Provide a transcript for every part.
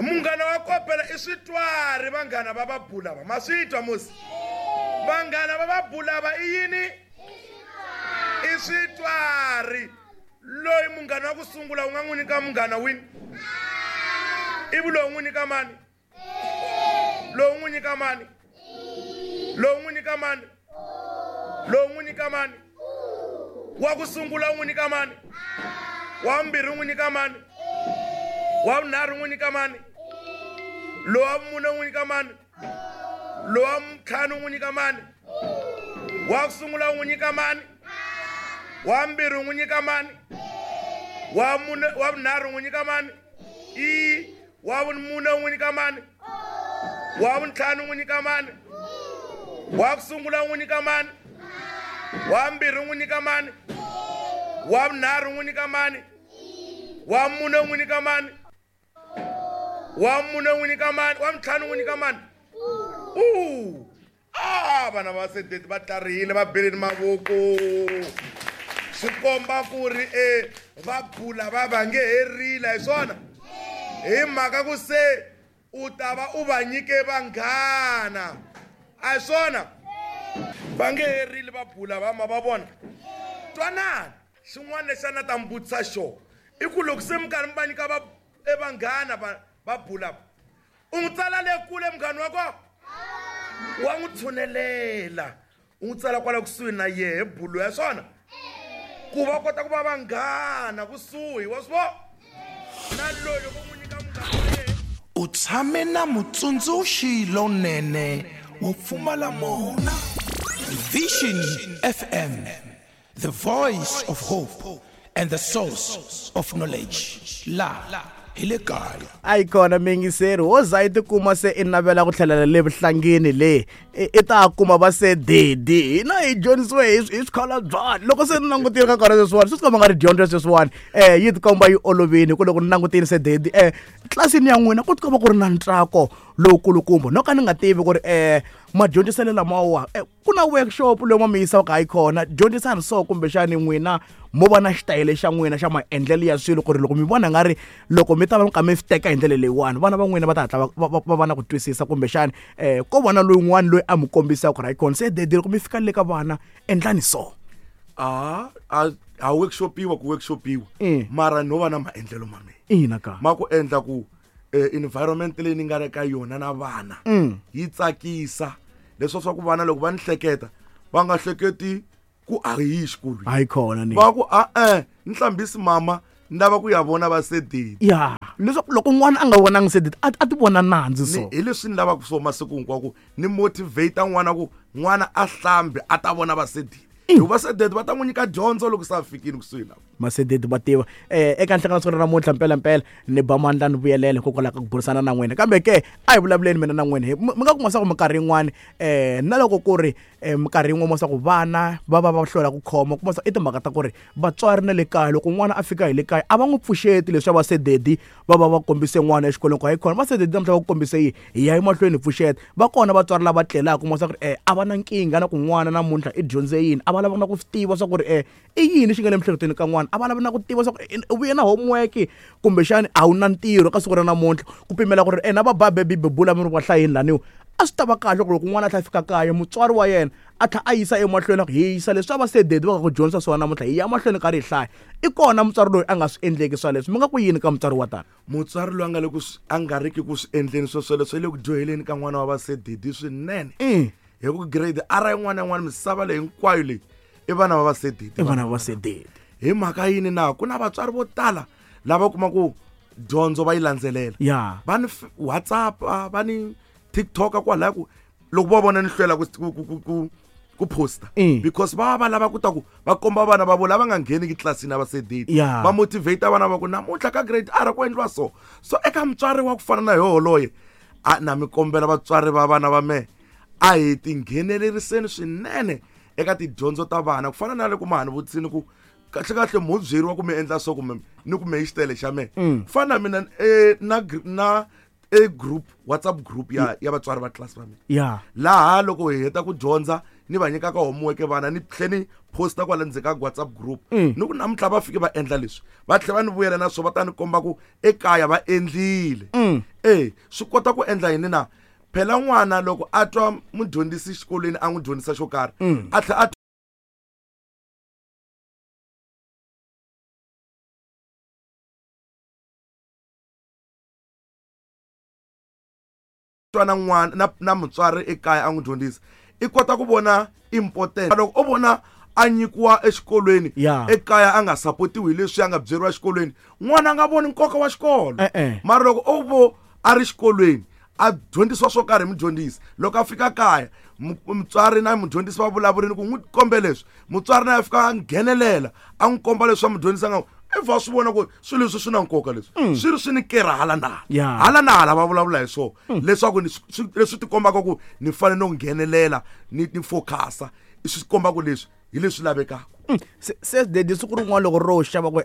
Munghana wa kopela i switwari vanghana va vabulava ma swi twa musi. Vanghana va vabulava i yini? I switwari. Loyi munghana wa ku sungula u nga n'wi nyika munghana wini? Ivi lowu n'wi nyika mani? Lowu n'wi nyika mani? Lowu n'wi nyika mani? Lowu n'wi nyika mani? Wa ku sungula u n'wi nyika mani? Wa vumbirhi u n'wi nyika mani? Wa vunharhu u n'wi nyika mani? Lowa vumune u n'wi nyika mani? Lowa ntlhanu u n'wi nyika mani? Wa ku sungula u n'wi nyika mani? Wa vumbirhi u n'wi nyika mani? Wa mune, wa vunharhu u n'wi nyika mani? I wa vumune u n'wi nyika mani? Wa vuntlhanu u n'wi nyika mani? Wa ku sungula u n'wi nyika mani? Wa vumbirhi u n'wi nyika mani? Wa vunharhu u n'wi nyika mani? Wa mune u n'wi nyika mani? Wa mune u n'wi nyika mani? Wa ntlhanu u n'wi nyika mani? U a vana va sedeti va tlarihile va beleni mavoko swi komba ku ri e va bula va va nge herile hi swona hi mhaka ku se u ta va u va nyike vanghana a hi swona va nge herile va bula va ma va vona twanani xin'wana lexi a na ta mi vutisa xona i ku loko se mi karhi mi va nyika va e vanghana va va bula u n'wi tsala le kule munghana wa kona wa n'wi tshunelela u n'wi tsala kwala kusuhi na yehe bulu ya swona ku va kota ku va vanghana kusuhi wa swi vona na loyi loko u n'wi nyika munghana wa yena. U tshame na mutsundzuxi lonene wo pfumala mona. Vision FM, the voice of hope and the source of knowledge. La hi le kaya. A yi kona miyingiseri wo za yi tikuma se i navela ku tlhelela le vuhlangini le i ta kuma va se dedi hina hi dyondzisiwe hi swikhala loko se ni langutile ka kona sweswiwani swi tikomba nga ri dyondzo sweswiwani yi tikomba yi olovile ku loko ni langutile se dedi tlilasini ya n'wina ku tikomba ku ri na ntsako lowukulukumba no ka ni nga tivi ku ri madyondziselo lamawa ku na workshop lowu ma mi yisaka hayi kona dyondzisani so kumbexani n'wina mo va na xitayele xa n'wina xa maendlelo ya swilo ku ri loko mi vona nga ri loko mi ta va ka mi swi teka hi ndlela leyiwani vana va n'wina va ta hatla va va na ku twisisa kumbexani ko va na lowun'wani loyi a mi kombisaka ku ri hayi kona se dedi loko mi fika le ka vana endlani so. A a workshopiwa ku workshopiwa mara no va na maendlelo ma mina. Ina ka. Ma ku endla ku environment leyi ni nga ri ka yona na vana yi tsakisa leswi swa ku vana loko va ni hleketa va nga hleketi ku a hi yi xikolweni. Hayi kona ni. Va ku a-e ni hlambisi mama ni lava ku ya vona va sedeti. Ya leswaku loko n'wana a nga vonangi sedeti a ti vona nandzu so. Hi leswi ni lavaka swo masiku hinkwawo ku ni motivate n'wana ku n'wana a hlambi a ta vona va sedeti. Hikuva sedeti va ta n'wi nyika dyondzo loko se a fikile kusuhi na. Masedeti va tiva eka nhlangano siku ra namuntlha mpelampela ni ba mandla ni vuyelela hikokwalaho ka ku burisana na n'wina kambe ke a hi vulavuleni mina na n'wina mi nga kuma swa ku minkarhi yin'wani na loko ku ri minkarhi yin'wana swa ku vana va va va hlwela ku khoma kuma swa i timhaka ta ku ri vatswari na le kaya loko n'wana a fika hi le kaya a va n'wi pfuxeti leswi va sededi va va va kombise n'wana exikolweni ku hayi khona va sededi namuntlha va ku kombise yi hi ya emahlweni hi pfuxeta va kona vatswari lava tlelaka kuma swa ku ri a va na nkingha na ku n'wana namuntlha i dyondze yini a va lava na ku swi tiva swa ku ri i yini xi nga le miehleketweni ka n'wana a va lavi na ku tiva swa ku u vuye na homework kumbexani a wu na ntirho ka siku ra namuntlha ku pimela ku ri na va ba baby bebula mi ri va hlayeni laniwa a swi ta va kahle ku loko n'wana a tlhela a fika kaya mutswari wa yena a tlhela a yisa emahlweni a ku hi yisa leswi a va sededi va nga ku dyondzisa swona namuntlha hi ya mahlweni karhi hi hlaya i kona mutswari loyi a nga swi endleki swa leswi mi nga ku yini ka mutswari wa tani. Mutswari loyi a nga le ku a nga riki ku swi endleni swo swoleswo i le ku dyoheleni ka n'wana wa vasededi swinene hi ku grade R yin'wana na yin'wana misava leyi hinkwayo leyi i vana va vasededi. I vana va vasededi. Hi mhaka yini na ku na vatswari vo tala lava kuma ku dyondzo va yi landzelela. Ya. Va ni WhatsApp va ni TikTok kwalaya ku loko va vona ni hlwela ku ku ku ku ku posta because va va lava ku ta ku va komba vana va vona lava nga ngheniki tlilasini a va sedeti Yeah. va motivate vana va ku namuntlha ka grade R ku endliwa so so eka mutswari wa ku fana na yoholoye a na mi kombela vatswari va vana va mehe a hi tingheneleriseni swinene eka tidyondzo ta vana ku fana na loko ma ha ni vutisini ku kahle kahle mo byeriwa ku mi endla so kumbe ni ku me xitele xa mehe ku fana na mina na na e group WhatsApp group ya ya vatswari va class va mina Ya. laha loko hi heta ku dyondza ni va nyikaka homework vana ni tlhe ni posta kwala ndzeni ka WhatsApp group ni ku namuntlha va fike va endla leswi va tlhe va ni vuyela na swo va ta ni komba ku ekaya va endlile. Swi kota ku endla yini na phela n'wana loko a twa mudyondzisi xikolweni a n'wi dyondzisa xo karhi a tlhe a twa na n'wana na mutswari ekaya a n'wi dyondzisa i kota ku vona important loko o vona a nyikiwa exikolweni ekaya a nga sapotiwi hi leswi a nga byeriwa exikolweni n'wana a nga voni nkoka wa xikolo. Mara loko o vo a ri xikolweni a dyondzisiwa swo karhi hi mudyondzisi loko a fika kaya mutswari na mudyondzisi va vulavurini ku n'wi kombe leswi mutswari na a fika a nghenelela a n'wi komba leswi a mudyondzisi a nga i va swi vona ku swilo leswi swi na nkoka leswi swi ri swi ni kerha hala na hala hala na hala va vulavula hi swona leswaku leswi tikombaka ku ni fanele no nghenelela ni focusa swi kombaka leswi hi leswi lavekaka. Se dedi siku rin'wana loko ro xava ku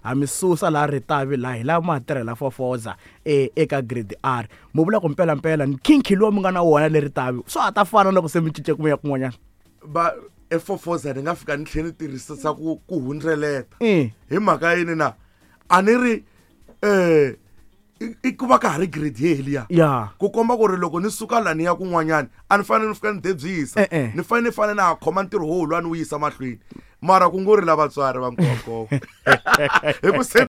ha mi susa laha Ritavi laha hi lava ma tirhela fofoza eka grade R mu vula ku mpelampela nkhinkhi lowu mi nga na wona le Ritavi swa ha ta fana loko se mi cince ku ya kun'wanyana va efofoza ni nga fika ni tlhela ni tirhisa ku hundzeleta hi mhaka yini na a ni ri i ku va ka ha ri grade yeliya ku komba ku ri loko ni suka la ni ya kun'wanyana a ni fanele ni fika ni debyisa ni fanele na ha khoma ntirho wo lwa ni wu yisa mahlweni mara ku ngo ri la vatswari va nkonkoko hi ku se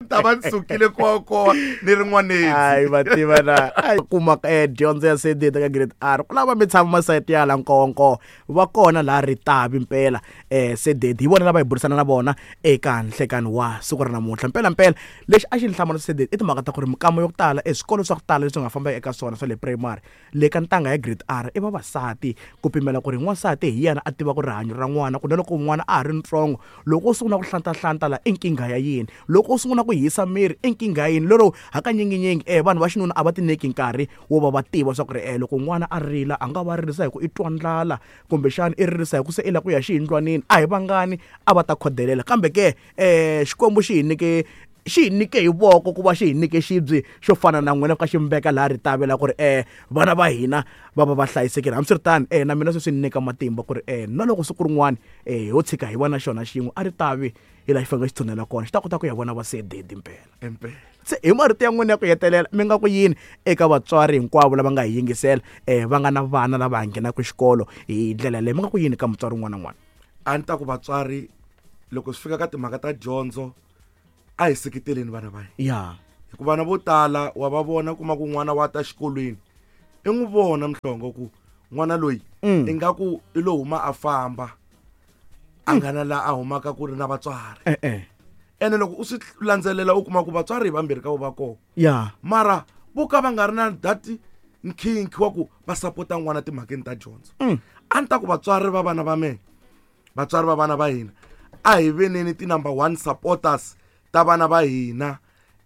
ta va ni sukile kokoa ni ri n'waneni. Hayi va tiva na kuma dyondzo ya sedita ka grade R ku lava mi tshama masayiti ya la nkonko va kona laha Ritavi mpela sededi hi vona lava hi burisana na vona eka nhlekani wa siku ra namuntlha. Mpelampela lexi a xi ni hlamala sededi i timhaka ta ku ri mikama yo tala eswikolo swa ku tala leswi nga famba eka swona swa le primary le ka ntanga ya grade R i vavasati ku pimela ku ri n'wansati hi yena a tiva ku rihanyo ra n'wana ku na loko n'wana a ha ri ntsongo loko u sungula ku hlantahlanta la i nkingha ya yini loko u sungula ku hisa miri i nkingha ya yini lero hakanyinginyingi vanhu va xinuna a va ti nyiki nkarhi wo va va tiva swa ku ri loko n'wana a rila a nga va ririsa hi ku i twa ndlala kumbexana i ririsa hi ku se i lava ku ya xiyindlwanini a hi vangani a va ta khodelela kambe ke Xikwembu xi hi nyike hi voko ku va xi hi nyike xibye xo fana na n'wina ka xi mi veka laha Ritavi la ku ri vana va hina va va va hlayisekile. Hambiswiritano na mina sweswi ni nyika matimba ku ri na loko siku rin'wana ho tshika hi vona xona xin'we a Ritavi hi laha xi fanele xi tshunela kona xi ta kota ku ya vona va sededi mpela. Se hi marito ya n'wina ya ku hetelela mi nga ku yini eka vatswari hinkwavo lava nga hi yingisela va nga na vana lava nghenaka xikolo hi ndlela leyi mi nga ku yini ka mutswari un'wana na un'wana? A ni ta ku vatswari loko swi fika ka timhaka ta dyondzo a hi seketeleni vana va hina hikuva vana vo tala wa va vona kuma ku n'wana wa ta xikolweni i n'wi vona Mhlongo ku n'wana loyi ingaku i lo huma a famba a nga na laha a humaka ku ri na vatswari ene loko u swi landzelela u kuma ku vatswari hi vambirhi ka vo va kona mara vo ka va nga ri na that nkhinkhi wa ku va sapota n'wana timhakeni ta dyondzo. A ni ta ku vatswari va vana va mehe vatswari va vana va hina a hi veneni ti number 1 supporters ta vana va hina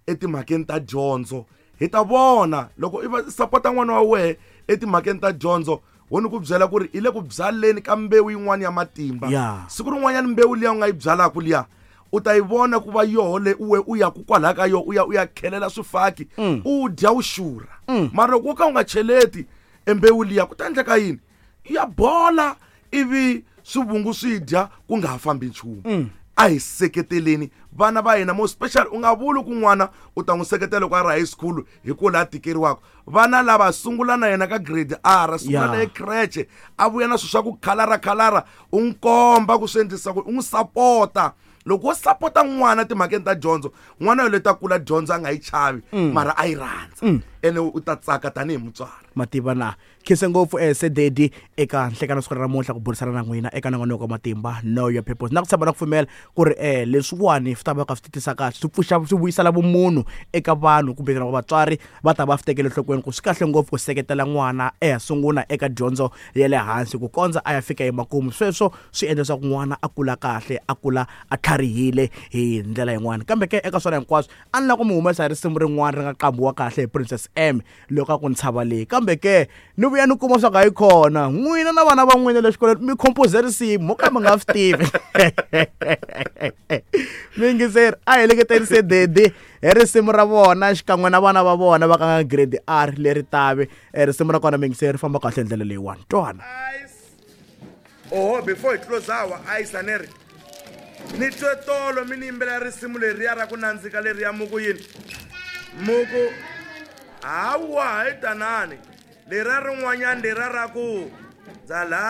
etimhakeni ta dyondzo hi ta vona loko i va sapota n'wana wa wehe etimhakeni ta dyondzo wo ni ku byela ku ri i le ku byaleni ka mbewu yin'wana ya matimba siku rin'wanyana mbewu liya u nga yi byalaka liya u ta yi vona ku va yoho le uwe u ya ku kwalaha ka yo u ya u ya khelela swifaki u dya u xurha mara loko wo ka u nga cheleti embewu liya ku ta endleka yini ya bola ivi swivungu swi dya ku nga ha fambi nchumu. A hi seketeleni vana va hina mo special u nga vuli ku n'wana u ta n'wi seketela loko a ri high school hi ku laha tikeriwaka vana lava sungula na yena ka grade R sungula na ye creche a vuya na swilo swa ku khalara u n'wi komba ku swi endlisa ku u n'wi sapota loko wo sapota n'wana timhakeni ta dyondzo n'wana yoloye ta kula dyondzo a nga yi chavi mara a yi rhandza ene u ta tsaka tanihi mutswari. Mativa na khense ngopfu sededi eka nhlekano siku ra namuntlha ku burisana na n'wina eka nongonoko wa matimba Know Your Purpose na ku tshemba na ku pfumela ku ri leswiwani swi ta va ka swi titisa kahle swi pfuxa swi vuyisela vumunhu eka vanhu kumbe na vatswari va ta va swi tekela enhlokweni ku swi kahle ngopfu ku seketela n'wana eya sungula eka dyondzo ya le hansi ku kondza a ya fika emakumu sweswo swi endla leswaku n'wana a kula kahle a kula a tlharihile hi ndlela yin'wana kambe ke eka swona hinkwaswo a ni lava ku mi humesa hi risimu rin'wana ri nga qambiwa kahle hi Princess SM loko a ku ntshava leyi. Kambe ke ni vuya ni kuma swa ku a yi kona n'wina na vana va n'wina le xikolweni mi compose risimu mo ka mi nga swi tivi. Miyingiseri, a hi heleketerise dedi hi risimu ra vona xikan'we na vana va vona va ka nga grade R leri tavi. Risimu ra kona miyingiseri ri famba kahle hi ndlela leyiwani. Twana. Oho, before hi close awa ice a ni ri ni twe tolo mi ni yimbelela risimu leriya ra ku nandzika leriya muku yini muku hawa hayi tanani leriya rin'wanyani leriya ra ku dzala.